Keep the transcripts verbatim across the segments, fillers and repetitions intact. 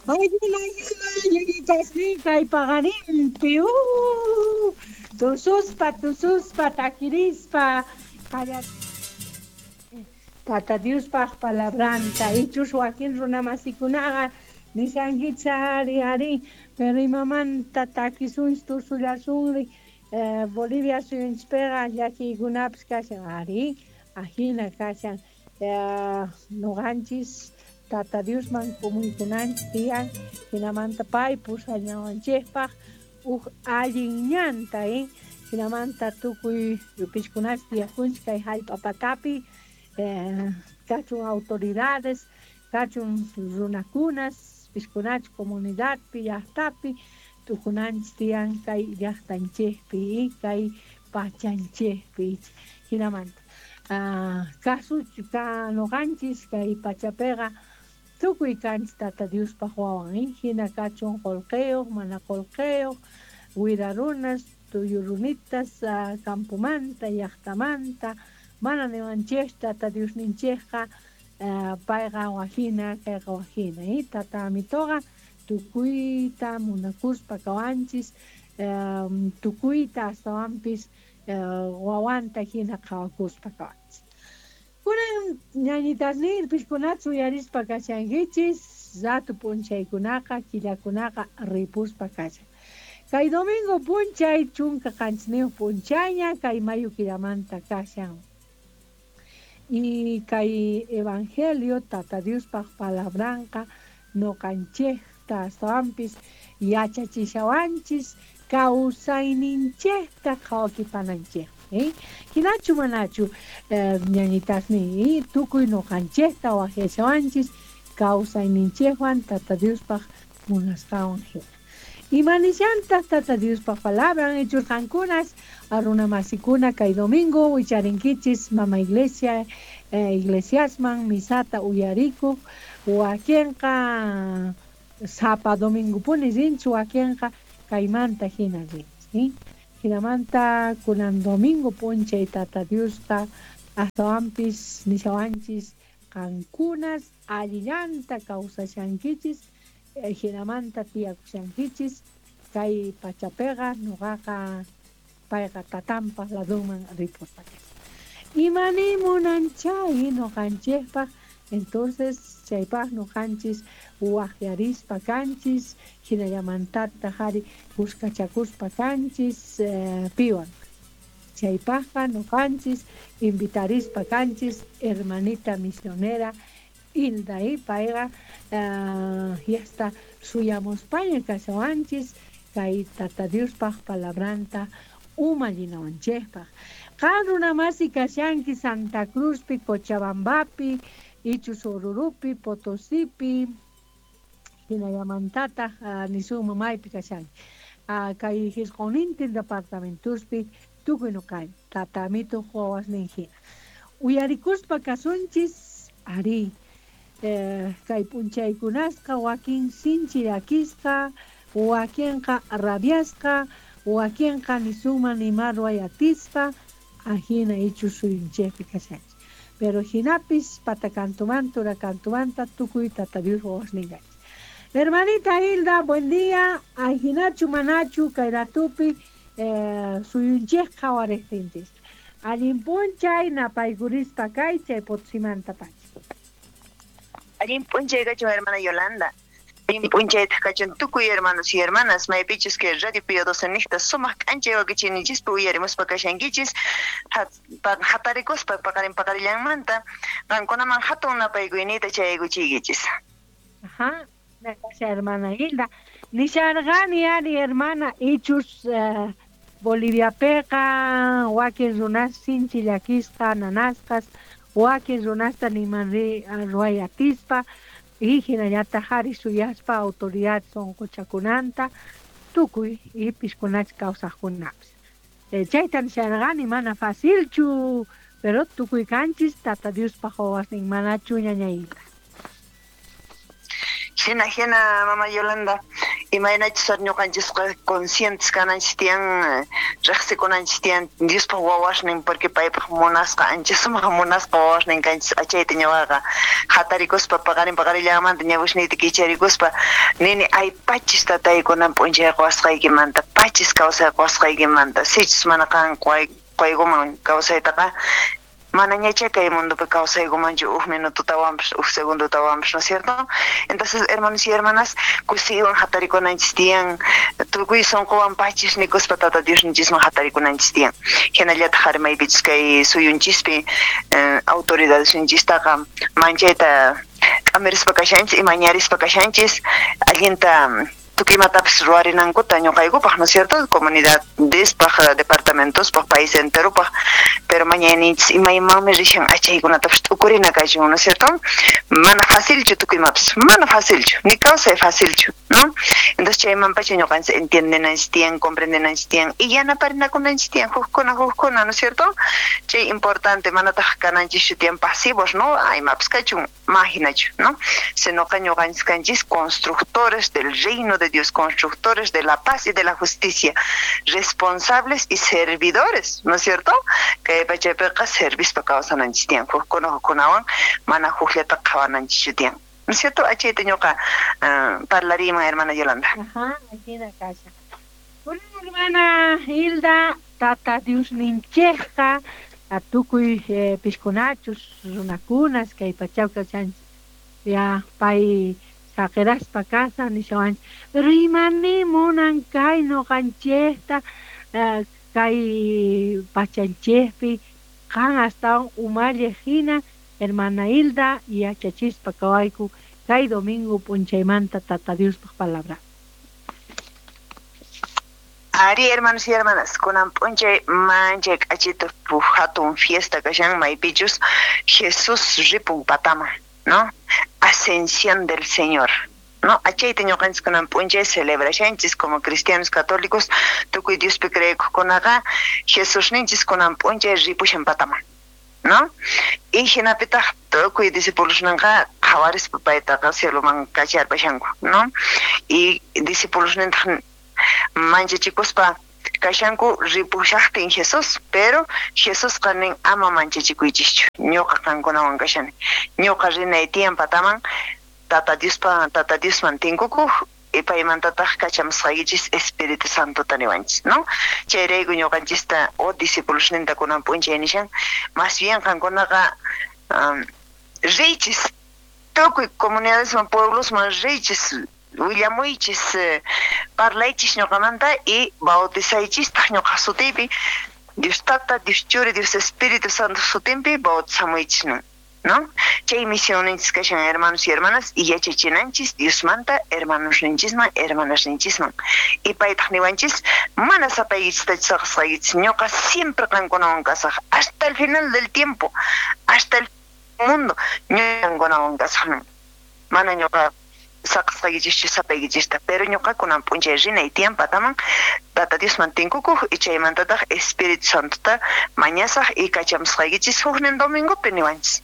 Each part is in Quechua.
Ajina ñañitasniy kay paqarinpi uh, tususpa tususpa takirispa qallar Tata Diospaq palabranta ichus wakin runamasikunaqa nishankichis ari ari pero imamanta takisunchis tusullasunri eh, Bolivia suyunchispiqa llakiykunapis kashan ari ajina kashan eh, nuqanchis Tata Diosman kumuykunanchis tiyan hinamanta pay pusañawanchikpaq huk allin ñanta eh hinamanta tukuy yupishkunash tiyakunchik kay hallp'a patapi eh, kachun autoridades kachun runakunas pishkunach comunidadpi llaqtapi tukunanchis tiyan kay llaqtanchikpi kay pachanchikpi hinamanta ah, kasuch ka nuqanchis kay pachapiqa tukuy kanchis Tata Diospaq wawan eh hina kachun qullqiyuq mana qullqiyuq wira runas tuyu runitas uh, campomanta llaqtamanta mana niwanchik Tata Diosninchikqa uh, payqa wajina kayqa wajina eh Tata Amituqa tukuyta munakuspa kawanchis um, tukuyta astawanpis uh, wawanta hina qhawakuspa kawanchis. Kunan ñañitasniy pishkunata uyarispa kashankichis ratu p'unchaykunaqa killakunaqa ripuspa kashan. Kay domingo p'unchay chunka qanchisniyuq p'unchayña kay mayu killamanta kashan. Y kay evangelio Tata Diospaq palabranqa nuqanchikta astawanpis yachachishawanchis kawsayninchikta qhawakipananchikta eh? Hinachu manachu eh, ñañitasniy tukuy nuqanchikta waqyashawanchis kawsayninchikwan Tata Diospaq munasqanwan hina. Imanishantaq Tata Diospaq palabran ichurqankunas runamasikuna kay domingo wicharinkichis mama iglesia eh, iglesiasman misata uyarikuq wakinqa sapa domingopuni rinchis wakinqa kaymanta hina rinchis eh? Hinamanta kunan domingo p'unchay Tata Diosqa astawanpis nishawanchis qankunas allillanta kawsashankichis eh, hinamanta tiyakushankichis kay pachapiqa nuqaqa payqa tatanpaq ladunman ripuspa kashan. Imani munanchay nuqanchikpaq entonces chaypaq nuqanchis waqyarispa kanchis hinallamantataq ari kuskachakuspa kanchis eh, piwan chaypaqqa nuqanchis invitarispa kanchis hermanita misionera Hilda y payqa uh, yasta suyamuspaña kashawanchis kay Tata Diospaq palabranta umallinawanchikpaq. Qan runamasi kashanki Santa Cruzpi, Cochabambapi, ichus Orurupi, Potosipi, hinallamantataq uh, nisunman maypi kashanki. Uh, kay hisq'unintin departamentuspi tukuy nuqay Tata Amituq wawasnin hina. Uyarikuspa kasunchis ari eh, kay p'unchaykunasqa wakin sinchi llakisqa wakinqa rabiasqa wakinqa nisunman nima ruway atispa ajina ichus suyunchikpi kashanchik. Pero hinapis patakantumanta urakantumanta tukuy Tata Dios wawasnin kanchik. Hermanita Hilda, buen día. Ajinachu manachu kay ratupi eh, suyunchik qhawariqtinchis. Allin p'unchay napaykurispa kay chay Potosimanta pacha. Allin p'unchay kachun hermana Yolanda. Allin p'unchaytaq kachun tukuy hermanos y hermanas maypichus kay Radio Pío doce niqta sumaq k'anchay wakichiyninchispi uyarimuspa kashankichis hatarikuspa paqarin paqarillanmanta qankunaman hatun napaykuyniyta chayaykuchiykichis. Ajá, gracias hermana Hilda. Nisharqani ari hermana ichus uh, Boliviapiqa wakin runas sinchi llakisqa nanasqas wakin runasta niman ri ruway atispa y hinallataq ari suyaspa autoridad sunquchakunanta tukuy y pishkunach kawsaqkunapis. Eh, chayta nisharqani mana facilchu pero tukuy kanchis Tata Diospaq wawasnin manachu ñaña Hilda. Hina hina mama Yolanda. Imaynachus ñuqanchisqa conscientes kananchis tiyan, riqsikunanchis tiyan Diospaq wawasnin, porque paypaq munasqa, ancha sumaq munasqa wawasnin kanchis. Achayta ñuqaqa hatarikuspa paqarin paqarillamanta ñawisniyta kicharikuspa nini, ay pachis tatay kunan p'unchay quwasqaykimanta, pachis kawsay quwasqaykimanta, sichus mana qan quykuman kawsaytaqa manañacha kay mundopi kawsaykumanchu uj minututawanpas uj segundotawanpas, ¿no es cierto? Entonces, hermanos y hermanas, kusiywan hatarikunanchis tiyan, tukuy sunquwan pachis nikuspa Tata Diosninchisman hatarikunanchis tiyan. Hinallataq ari maypichus kay suyunchispi eh, autoridadesninchistaqa manchayta k'amirispa kashanchis, imañarispa kashanchis, allinta tukuy imatapas ruwarinankuta ñuqaykupaq, ¿no es cierto? Comunidadespaq, departamentospaq, país enteropaq, pero mañayninchis imaymanmi rishan achaykunatapas t'ukurina kachun, ¿no es cierto? Mana facilchu tukuy imapas, mana facilchu, ni kawsay facilchu, ¿no? Entonces chaymanpacha ñuqanchis entiendenanchis tiyan, comprendenanchis tiyan, y yanaparinakunanchis tiyan, hukkuna hukkuna, ¿no es cierto? Chay importante, manataq kananchischu tiyan pasivos, ¿no? Ay, imapas kachun, mahinachu, ¿no? Sinoqa ñuqanchis kanchis constructores del reino de Dios, constructores de la paz y de la justicia, responsables y servidores, ¿no es cierto? Kay pachapiqa servispa kawsananchis tiyan, hukkuna hukkunawan mana hukllata qhawananchis tiyan, ¿no es cierto? Achayta ñuqa uh, parlariyman, hermana Yolanda. Ajá, ajina kasha. Bueno, hermana Hilda, Tata Diosninchikqa tukuy eh, piskunachus runakunas kay pachapi kawsanchis ya pay saqiraspa kashan nishawanchis, pero imani munan kay ñuqanchikta uh, kay pachanchikpi qan astawan umalliq hina, hermana Hilda, yachachispa kawayku kay domingo p'unchaymanta Tata Diospaq palabra. Ari, hermanos y hermanas, kunan p'unchay manchay k'achita hatun fiesta kashan maypichus Jesús ripun pataman, ¿no? Ascensión del Señor, ¿no? Achayta ñuqanchis kunan p'unchay celebrashanchis como cristianos católicos, tukuy Diospi creekuqkunaqa Jesusninchis kunan p'unchay ripushan pataman, ¿no? Y hinapitaq tukuy discipulosninqa qhawarispa paytaqa cieloman kacharpashanku, ¿no? Y discipulosnintaq manchachikuspa kashanku ripushaqtin Jesús, pero Jesusqa nin ama manchachikuychischu, ñuqa qankunawan kashani, ñuqa rinay tiyan pataman Tata Diospa Tata Diosman tinkukuq y paymantataq kachamusqaykichis Espíritu Santota niwanchis, ¿no? Chayrayku ñuqanchista o discipulosninta kunan p'unchay nishan, más bien qankunaqa um, riychis tukuy comunidadesman pueblosman riychis, willamuychis, eh, parlaychis ñuqamanta y bautizaychistaq ñuqa sutiypi, Dios Tata, Dios Churi, Dios Espíritu Santo sutinpi bautizamuychis, ¿no? Chay misionninchis kashan, hermanos y hermanas, y yachachinanchis Diosmanta hermanosninchisman, hermanasninchisman. Y paytaq niwanchis, mana sapaykichista saqasqaykichis, ñuqa siempre qankunawan kasaq, hasta el final del tiempo, hasta el mundo, ñuqa qankunawan kasaq, mana ñuqa saqasqaykichischu sapaykichista, pero ñuqa kunan p'unchay rinay tiyan pataman Tata Diosman tinkukuq y chaymantataq Espíritu Santota mañasaq y kachamusqaykichis huknin domingopi niwanchis,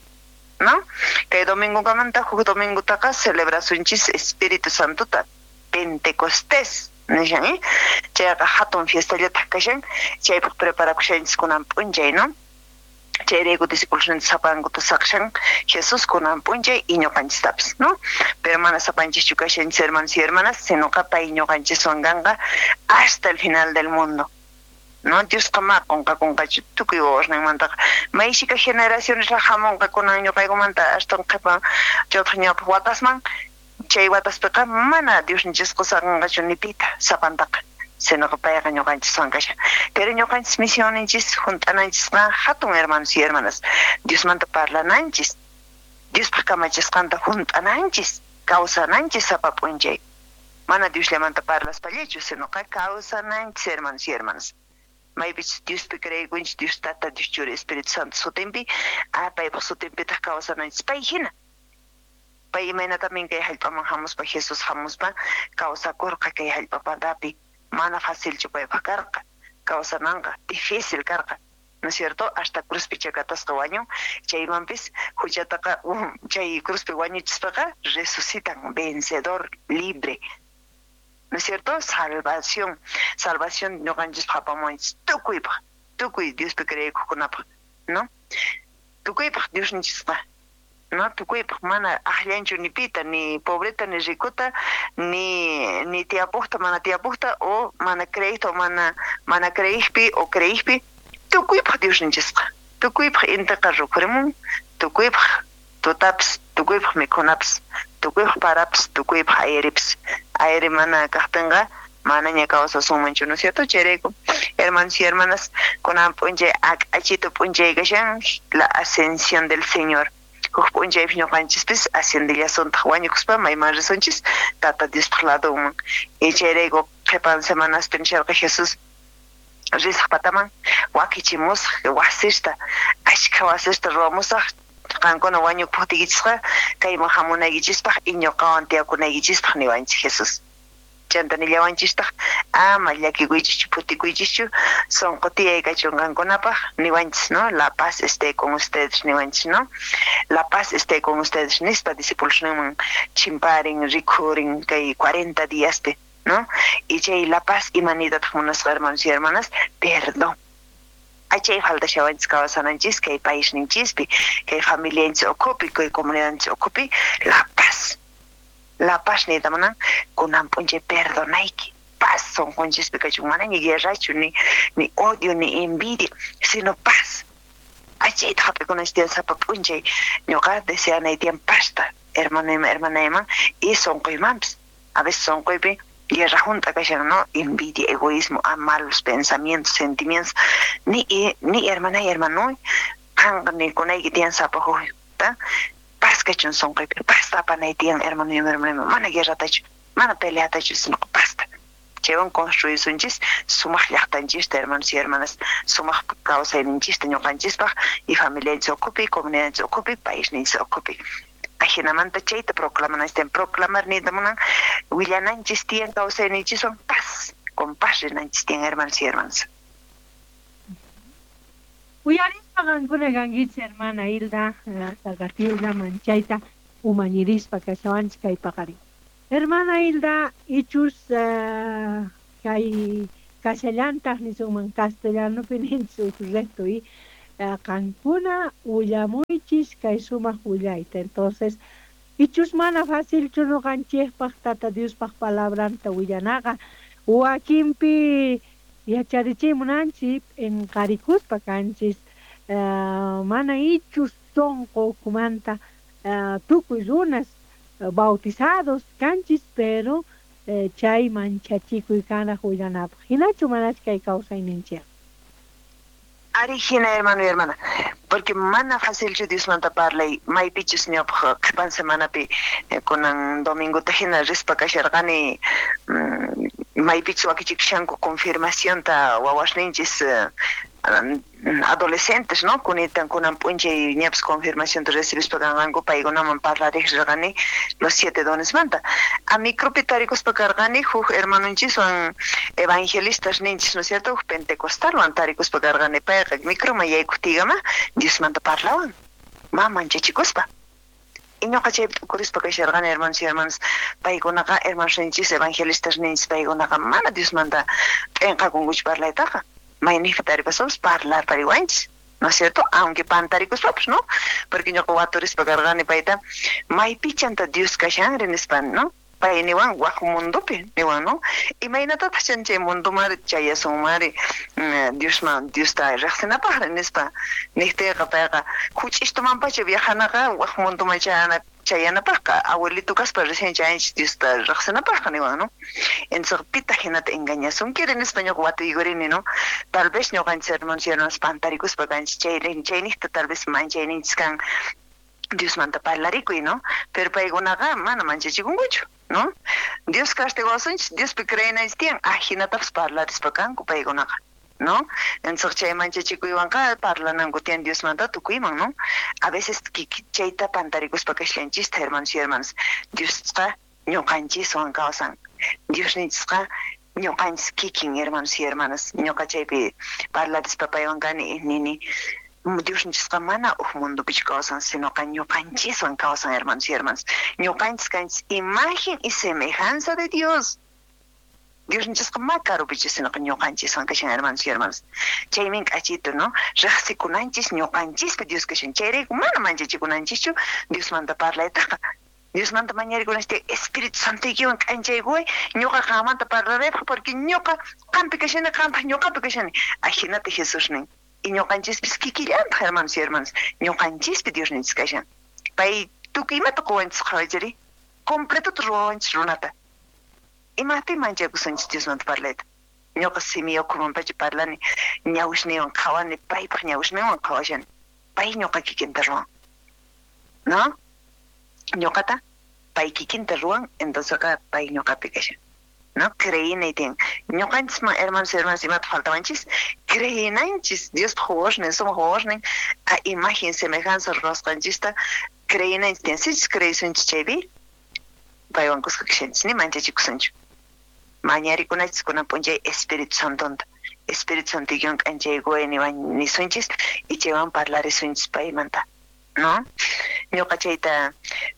¿no? Kay domingokamanta huk domingotaqa celebrasunchis Espíritu Santota, Pentecostés nishan, ¿eh? Chayqa hatun fiestallataq kashan, chaypaq preparakushanchis kunan p'unchay, ¿no? Chayrayku discipulosninta sapankuta saqshan Jesús kunan p'unchay y ñuqanchistapas, ¿no? Pero mana sapanchischu kashanchis, hermanos y hermanas, sinoqa pay ñuqanchiswan kanqa hasta el final del mundo, ¿no? Diosqa ma qunqakunqachu tukuy wawasninmantaqa, mayshika generaciones hamunqa kunan ñuqaykumanta astawan qhipa chaytaq ñawpaq watasman, chay wataspiqa mana Diosninchisqa saqanqachu ni pita sapantaqa, sinoqa payqa ñuqanchiswan kashan. Pero ñuqanchis misionninchis hunt'ananchisqa hatun, hermanos y hermanas, Diosmanta parlananchis, Diospaq kamachisqanta hunt'ananchis, kawsananchis sapa p'unchay. Mana Diosllamanta parlaspallachu, sinoqa kawsananchis, hermanos y hermanas. Maypichus Diospi creekunchis, Dios Tata, Dios Churi, Espíritu Santo sutinpi, ah, paypaq sutinpitaq kawsananchis pay hina. Pay imaynatamin kay hallp'aman hamuspa, Jesús hamuspa kawsakurqa kay hallp'a patapi. Mana facilchu paypaq karqa, kawsananqa difícil karqa, ¿no es cierto? Hasta cruzpi chakatasqa wañun, chaymanpis huchataqa um, chay cruzpi wañuchispaqa resucitan vencedor, libre, ¿No es cierto? Salvación, salvación ñuqanchispaq apamuwanchis tukuypaq, tukuy Diospi creekuqkunapaq, ¿no? Tukuypaq Diosninchisqa, ¿no? Tukuypaq mana aqllanchu ni pita, ni pobreta, ni ricota, ni ni tiyapuqta, mana tiyapuqta, o mana creeyta, o mana mana creeypi, o creeypi, tukuypaq Diosninchisqa. Tukuypaq intiqa rukurimun, tukuypaq tutapis, tukuypaq mikhunapas, tukuypaq parapas, tukuypaq airipis. Aire mana kaqtinqa manaña kawsasunmanchu, ¿no es cierto? Chayrayku, hermanos y hermanas, kunan p'unchay ak'achitu p'unchay kashan, la ascensión del Señor. Huk p'unchaypi ñuqanchispis asciendillasuntaq wañukuspa mayman risunchis Tata Diospaq ladunman. Y chayrayku qhipan semanaspi nisharqa Jesús risaq pataman wakichimusaq wasista, ashkha wasista ruwamusaq qankuna wañukuqtiykichisqa kayman hamunaykichispaq y ñuqawan tiyakunaykichispaq niwanchis Jesús. Chanta nillawanchistaq ama llakikuychischu phutikuychischu sunqu tiyay kachun qankunapaq niwanchis, ¿no? La paz esté con ustedes niwanchis, ¿no? La paz esté con ustedes nispa discípulos ninman chimparin rikhurin kay cuarenta diaspi, ¿no? Y chay la paz imaniytataq munasqa, hermanos y hermanas? Perdón. Achay faltashawanchis kawsananchis kay paisninchispi, kay familianchis ukhupi, kay comunidadninchis ukhupi, la paz. La paz niyta munan kunan p'unchay perdonayki, paz sunqunchispi kachun, manaña guerrachu, ni ni odio, ni envidia, sino paz. Achayta hap'ikunanchis tiyan sapa p'unchay, ñuqa deseanay tiyan pazta, hermanoyman, hermanayman y sunquymanpis. A veces sunquypi guerra junta kashan, ¿no? Envidia, egoísmo, a malos pensamientos, sentimientos. Ni ni hermana y hermano, qanqa nikunayki tiyan sapa hukta, paz kachun sunquypi, pazta apanay tiyan hermano y hermana, mana guerratachu, mana peleatachu, sino pazta. Chaywan construisunchis sumaq llaqtanchista, hermanos y hermanas, sumaq kawsayninchista ñuqanchispaq y familianchis ukhupi, comunidadninchis ukhupi, paisninchis ukhupi. Ajinamanta chayta proclamananchis tiyan, proclamar niyta munan willananchis tiyan kawsayninchiswan paz, con paz rinanchis tiyan, hermanos y hermanas. Uyarispa qankuna kankichis, hermana Hilda, Salvatierra, manchayta umañirispa kashawanchis kay paqarin. Hermana Hilda, ichus uh, kay kashallantaq nisunman castellanopi ninchis recto y uh, qankuna willamuychis kay sumaq willayta. Entonces, ichus mana facilchu ñuqanchikpaq Tata Diospaq palabranta willanaqa, wakinpi yacharichimunanchik p'inqarikuspa kanchis, uh, mana ichus sunqu ukhumanta uh, tukuy runas bautizados kanchis, pero eh, chay manchachikuy kanaq willanapaq. Hinachu manachu kay kawsayninchik? Ari hina, hermano y hermana, porque mana facilchu Diosmanta parlay, maypichus ñawpaq qhipan semanapi kunan domingota hina rispa kasharqani maypichus wakichikushanku confirmacionta wawasninchis adolescentes, ¿no? Kunitan kunan p'unchay ñapis confirmacionta recibispa kanqanku paykunaman parlariq rirqani los siete dones manta. A micropi tarikuspa karqani huk hermanonchiswan evangelistas ninchis, ¿no es cierto? Huk pentecostalwan tarikuspa karqani payqa microman yaykuqtiykama Diosmanta parlawan, ma manchachikuspa. Y ñuqa chaypi t'ukurispa kasharqani, hermanos y hermanas, paykunaqa hermanos ninchis, evangelistas ninchis, paykunaqa mana Diosmanta p'inqakunkuchu parlaytaqa. Mayniqpi taripasunpis parlar pariwanchis, ¿no es cierto? Aunque pantarikuspapas, ¿no? Porque ñuqa waturispa karqani payta, maypichanta Dios kashanri nispa, ¿no? Pay niwan wak mundopi, niwan, ¿no? Imaynatataq chan chay mundomari chayasunmari Diosman, Diosta riqsinapaqri nispa niqtiyqa payqa huch'ishtumanpacha viajanaqa wak mundoman chayana chayanapaqqa abuelito kaspa recién chayanchis Diosta riqsinapaqqa niwan, ¿no? Entonces pitaq hinata engañasunkiri nispa ñuqa watuykurini, ¿no? Tal vez ñuqanchis hermanos y hermanas pantarikuspa kanchis chay chayniqta tal vez manchayninchis kan Diosmanta parlarikuy, ¿no? Pero paykunaqa mana manchachikunkuchu, ¿no? Dios castigawasunchis, Diospi creenanchis tiyan, ajinatapas parlarispa kanku paykunaqa, ¿no? Entonces chay manchachikuywanqa parlananku tiyan Diosmanta tukuyman, ¿no? A veces chayta pantarikuspa kashallanchista, hermanos y hermanas, Diosqa ñuqanchiswan kawsan, Diosninchisqa ñuqanchis kikin, hermanos y hermanas, ñuqa chaypi parlarispa paywan kani nini, Diosninchisqa mana huk mundopichu kawsan, sinoqa ñuqanchiswan kawsan, hermanos y hermanas. Ñuqanchis kanchis imagen y semejanza de Dios. Diosninchisqa ma karupichu sinaqa ñuqanchiswan kashan, hermanos y hermanas. Chaymin k'achito, ¿no? Riqsikunanchis ñuqanchispi Dios kashan. Chayrayku mana manchachikunanchischu Diosmanta parlaytaqa. Diosmanta mañarikunanchis Espíritu Santoykiwan k'anchaykuway ñuqa qanmanta parlaraypaq porque ñuqa qampi kashani, qantaq ñuqapi kashani. Ajinata Jesús nin. Y ñuqanchispis kikillantaq, hermanos y hermanas. Ñuqanchispi Diosninchis kashan. Pay tukuy imata quwanchis qhawachiri. Completota ruwawanchis runata. Imapin manchakusunchis Diosmanta parlayta. Ñuqa simi ukhumanpacha parlani, ñawisniywan qhawani, paypaq ñawisninwan qhawashani. Pay ñuqa kikinta ruwan. ¿No? Ñuqata pay kikinta ruwan, entonces pay ñuqapi kashan. ¿No? Creyinay tiyan. Ñuqanchisman, hermanos y hermanas, imata faltawanchis? Creyinanchis. Diospaq wawasnin, sumaq wawasnin, a imagen semejanza ruwasqanchista creyinanchis tiyan. Sichus creyisunchis chaypi, paywan kuska kashanchis, ni manchachikusunchu. Mañarikunachis kunan p'unchay Espíritu Santonta. Espíritu Santoykiwan k'anchaykuway niwan nisunchis y chaywan parlarisunchis paymanta. ¿No? Ñuqa chayta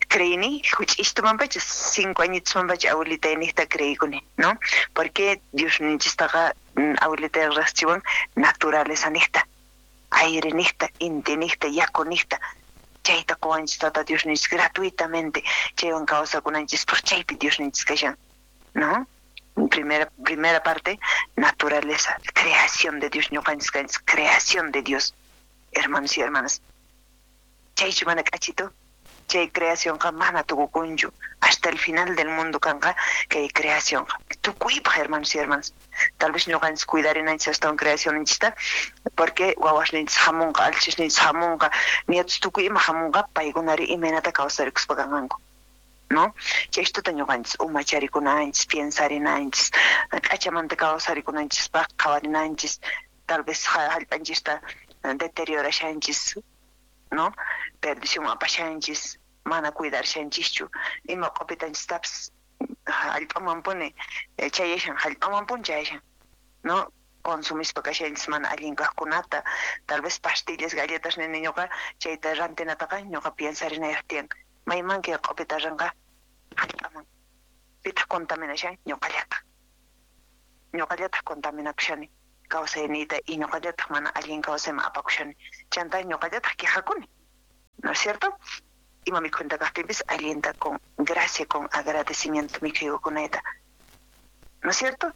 creini, huch'ishtumanpacha, cinco añitusmanpacha abuelitayniqta creykuni, ¿no? Porque Diosninchistaqa abuelitay riqsichiwan naturaleza niqta, aire niqta, inti niqta, yaku niqta. Chayta quwanchis Tata Diosninchis gratuitamente, chaywan kawsakunanchispaq chaypi Diosninchis kashan, ¿no? Primera, primera parte, naturaleza, creación de Dios, ñuqanchis kanchis, creación de Dios, hermanos y hermanas. Chaychu mana k'achito, chay creacionqa mana tukukunchu, hasta el final del mundo kanqa kay creacionqa. Tukuypaq, hermanos y hermanas. Tal vez ñuqanchis cuidarinanchis astawan creacionninchista, porque wawasninchis hamunqa, alchisninchis hamunqa, nietos tukuy ima hamunqa, paykunari imaynata kawsarikuspa kanqanku. ¿No? Chaystuta ñuqanchis umacharikunanchis, piensarinanchis, k'achamanta kawsarikunanchispaq qhawarinanchis, tal vez hallp'anchista deteriorashanchis, ¿no? Perdición apashanchis, mana cuidarshanchischu, ima q'upitanchistapis hallp'amanpuni chayashan, hallp'amanpuni chayashan, ¿no? Consumispa kashanchis mana allin kaqkunata, tal vez pastillas, galletas nini ñuqa chayta rantinataqa ñuqa piensarinayaq tiyan. Mayman kay q'upita ranqa hallp'aman. Pitaq contaminashan ñuqallataq. Ñuqallataq contaminakushani kawsayniyta y ñuqallataq mana allin kawsayman apakushani. Chanta ñuqallataq quejakuni, ¿no es cierto? Ima mikhunta kaqtinpis allinta con gracia, con agradecimiento mikhuykunayta. ¿No es cierto?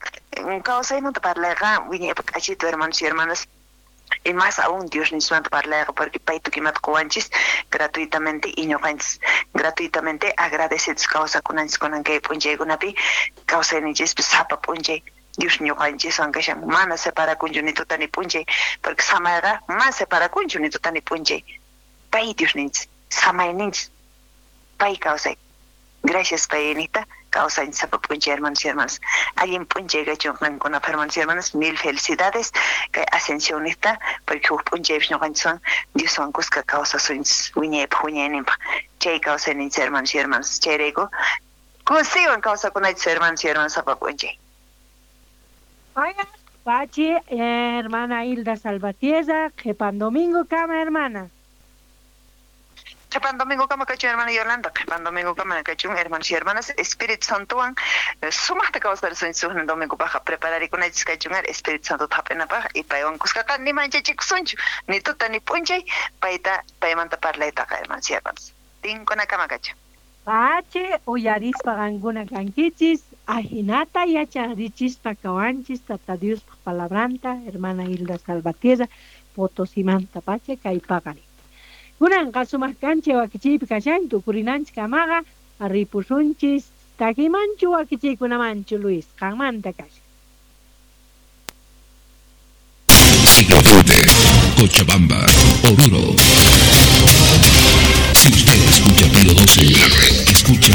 Kawsaymanta parlayqa wiñaypaq k'achito, hermanos y hermanas. Y más aún Dios nismanta parlayqa porque pay tukimata quwanchis gratuitamente y ñuqanchis gratuitamente agradecidos kawsakunanchis kunan kay p'unchaykunapi kawsayninchispis sapa p'unchay Dios ñuqanchiswan kashan, mana separakunchu ni tuta ni p'unchay, porque samayqa mana separakunchu ni tuta ni p'unchay. Pay Diosninchis, samayninchis, pay kawsay. Gracias paynita, kawsanchis sapa p'unchay, hermanos y hermanas. Allin p'unchay kachun qankunapaq, hermanos y hermanas, mil felicidades kay ascensiónista, porque huk p'unchaypis ñuqanchiswan Dioswan kuska kawsasunchis wiñaypaq wiñayninpaq. Chay kawsayninchis, hermanos y hermanas. Chayrayku kusiywan kawsakunachis, hermanos y hermanas, sapa p'unchay. Vaya, Pachi, hermana Hilda Salvatierra, Qhipan domingo kama, hermana. Qhipan domingo kama kachun, hermana Yolanda, qhipan domingo kama kachun, hermanos y hermanas, Espíritu Santowan sumaqta kawsarisunchis huk domingo paqa prepararikunachis kachun Espíritu Santo hap'inapaq y paywan kuskaqa ni manchachikusunchu, ni tuta ni p'unchay, payta paymanta parlaytaqa, hermanos y hermanas. Tinkunakama kachun. Pache, uyarispa qankuna kankichis, ajinata yacharichispa kawanchis, Tata Diospaq palabranta, hermana Hilda Salvatierra, Potosimanta pache, kay paqarin. Kunanqa sumaq kancha wakichiypi kashan, tukurinanchis kamaqa, ripusunchis, takimanchu wakichiykunamanchu, Luis, qanmanta kashan. Siglo veinte, Cochabamba, Oruro.